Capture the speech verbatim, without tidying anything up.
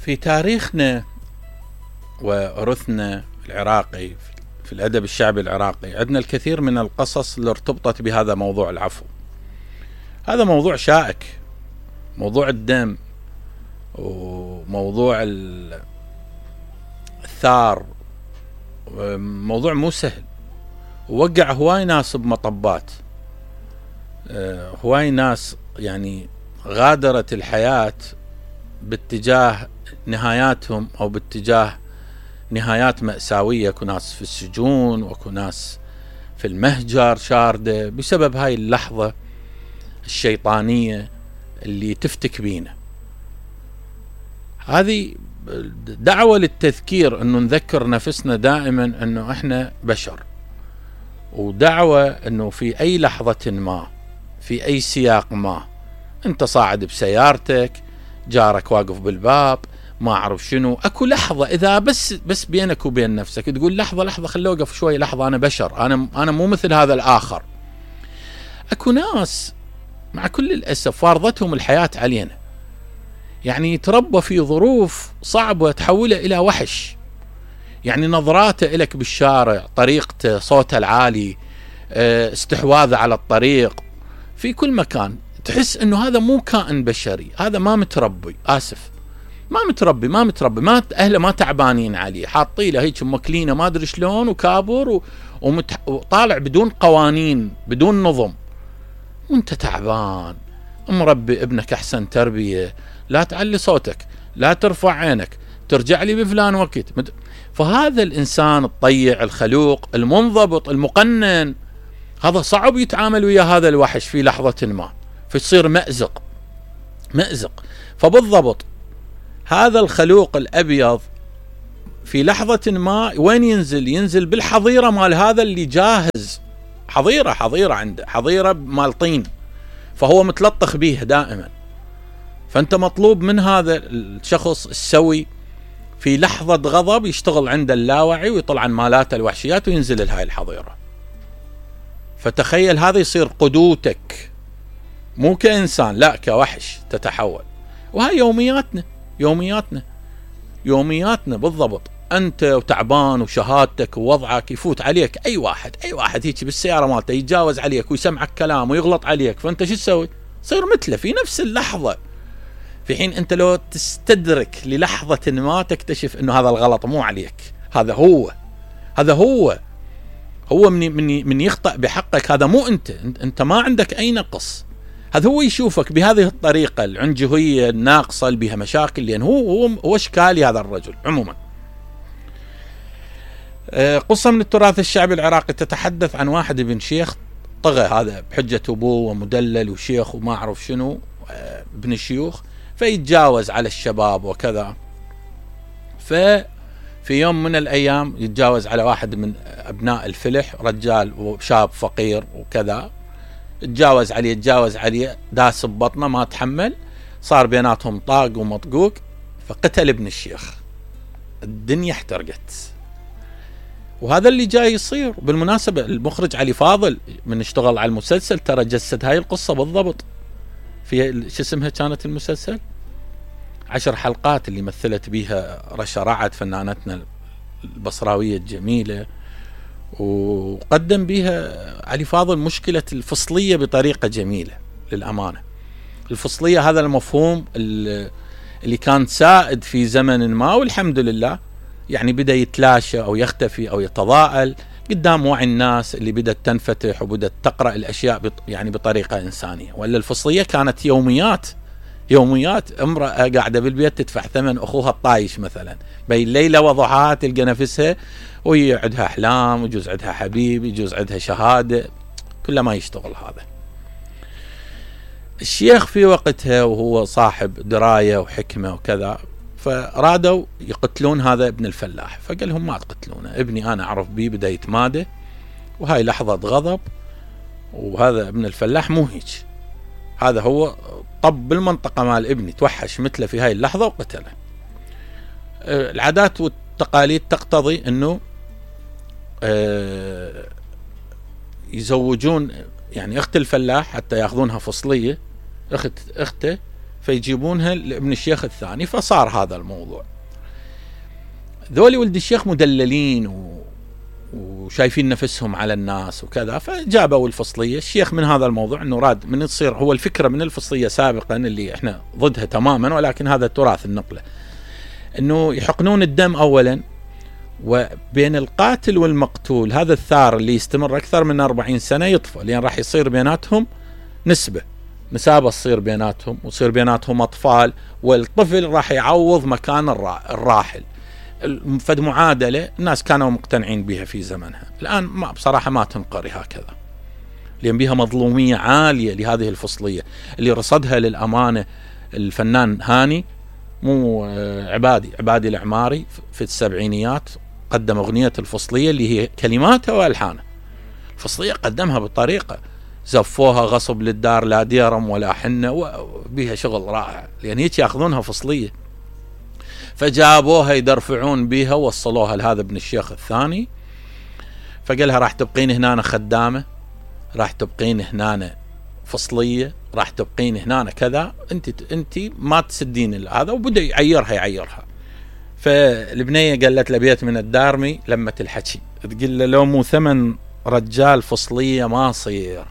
في تاريخنا وإرثنا العراقي في الأدب الشعبي العراقي عندنا الكثير من القصص اللي ارتبطت بهذا موضوع العفو. هذا موضوع شائك، موضوع الدم وموضوع الثار، موضوع مو سهل، ووقع هواي ناس بمطبات، هواي ناس يعني غادرت الحياة باتجاه نهاياتهم أو باتجاه نهايات مأساوية. اكو ناس في السجون واكو ناس في المهجر شاردة بسبب هاي اللحظة الشيطانية اللي تفتك بينا. هذه دعوة للتذكير انه نذكر نفسنا دائما انه احنا بشر، ودعوة انه في اي لحظة ما في اي سياق ما انت صاعد بسيارتك، جارك واقف بالباب، ما اعرف شنو، اكو لحظة اذا بس بس بينك وبين نفسك تقول لحظة لحظة خلي اوقف شوي، لحظة انا بشر، انا انا مو مثل هذا الاخر. اكو ناس مع كل الاسف فارضتهم الحياة علينا، يعني يتربى في ظروف صعبة تحوله الى وحش، يعني نظراته لك بالشارع، طريقته، صوته العالي، استحواذه على الطريق، في كل مكان تحس انه هذا مو كائن بشري، هذا ما متربي، اسف ما متربي ما متربي ما اهله ما تعبانين عليه، حاطين له هيك مكلينه ما ادري شلون وكابر و... ومت... وطالع بدون قوانين بدون نظم، وانت تعبان مربي ابنك احسن تربيه، لا تعلي صوتك، لا ترفع عينك، ترجع لي بفلان وقت. مت... فهذا الانسان الطيع الخلوق المنضبط المقنن هذا صعب يتعامل ويا هذا الوحش في لحظة ما، فيصير مأزق مأزق. فبالضبط هذا الخلوق الأبيض في لحظة ما وين ينزل؟ ينزل بالحظيرة مال هذا اللي جاهز، حظيرة حظيرة عنده، حظيرة مال طين، فهو متلطخ بيه دائما. فأنت مطلوب من هذا الشخص السوي في لحظة غضب يشتغل عند اللاوعي ويطلع عن مالاته الوحشيات وينزل لهاي الحظيرة. فتخيل هذا يصير قدوتك، مو كإنسان لا كوحش تتحول. وهي يومياتنا يومياتنا يومياتنا بالضبط. أنت وتعبان وشهادتك ووضعك يفوت عليك أي واحد أي واحد هيك بالسيارة مالته يتجاوز عليك ويسمعك كلام ويغلط عليك، فأنت شو تسوي؟ صير مثله في نفس اللحظة، في حين أنت لو تستدرك للحظة ما تكتشف أنه هذا الغلط مو عليك، هذا هو هذا هو هو من من من يخطأ بحقك، هذا مو انت انت ما عندك اي نقص، هذا هو يشوفك بهذه الطريقه العنجهيه الناقصه اللي بها مشاكل، لان هو هو هو اشكالي هذا الرجل. عموما قصه من التراث الشعبي العراقي تتحدث عن واحد ابن شيخ طغى، هذا بحجه ابوه ومدلل وشيخ وما اعرف شنو ابن الشيوخ، فيتجاوز على الشباب وكذا. ف في يوم من الأيام يتجاوز على واحد من أبناء الفلح، رجال وشاب فقير وكذا، يتجاوز عليه يتجاوز عليه داس ببطنه ما تحمل، صار بيناتهم طاق ومطقوق، فقتل ابن الشيخ. الدنيا احترقت. وهذا اللي جاي يصير. بالمناسبة المخرج علي فاضل من اشتغل على المسلسل ترى جسد هاي القصة بالضبط في شو اسمها كانت المسلسل عشر حلقات اللي مثلت بيها رشا رعد فنانتنا البصراوية الجميلة، وقدم بيها علي فاضل مشكلة الفصلية بطريقة جميلة. للأمانة الفصلية هذا المفهوم اللي كان سائد في زمن ما، والحمد لله يعني بدأ يتلاشى أو يختفي أو يتضاءل قدام وعي الناس اللي بدأت تنفتح وبدأت تقرأ الأشياء يعني بطريقة إنسانية. ولا الفصلية كانت يوميات يوميات، امرأة قاعدة بالبيت تدفع ثمن أخوها الطايش مثلا، بين ليلة وضحاها تلقى نفسها وهي عندها أحلام، ويجوز عندها حبيب، يجوز عندها شهادة، كل ما يشتغل هذا. الشيخ في وقتها وهو صاحب دراية وحكمة وكذا، فرادوا يقتلون هذا ابن الفلاح، فقال لهم ما تقتلونه، ابني أنا أعرف بيه بدأ يتمادى، وهاي لحظة غضب، وهذا ابن الفلاح مو هيك، هذا هو طب بالمنطقة مال ابني توحش مثله في هاي اللحظة وقتله. العادات والتقاليد تقتضي انه يزوجون يعني اخت الفلاح حتى ياخذونها فصلية، اخت اخته فيجيبونها لابن الشيخ الثاني، فصار هذا الموضوع. ذولي ولد الشيخ مدللين و... وشايفين نفسهم على الناس وكذا، فجابوا الفصلية. الشيخ من هذا الموضوع انه راد من تصير هو الفكرة من الفصلية سابقا اللي احنا ضدها تماما، ولكن هذا تراث النقلة، انه يحقنون الدم اولا، وبين القاتل والمقتول هذا الثار اللي يستمر اكثر من أربعين سنة يطفى، لان راح يصير بيناتهم نسبة نسابة تصير بيناتهم، ويصير بيناتهم اطفال، والطفل راح يعوض مكان الراحل. فد معادلة الناس كانوا مقتنعين بها في زمنها، الآن ما بصراحة ما تنقري هكذا، لأن بها مظلومية عالية لهذه الفصلية اللي رصدها للأمانة الفنان هاني، مو عبادي عبادي العماري في السبعينيات، قدم أغنية الفصلية اللي هي كلماتها وألحانها. الفصلية قدمها بطريقة زفوها غصب للدار، لا ديرم ولا حنة، وبها شغل رائع، لأن هيك يأخذونها فصلية. فجابوها يدرفعون بها، وصلوها لهذا ابن الشيخ الثاني، فقالها راح تبقين هنا خدامة، راح تبقين هنا فصلية، راح تبقين هنا كذا، انت انت ما تسدين هذا. وبدأ يعيرها يعيرها. فالبنية قالت لبيت من الدارمي لما تلحكي، تقول له لو مو ثمن رجال فصلية ما صير.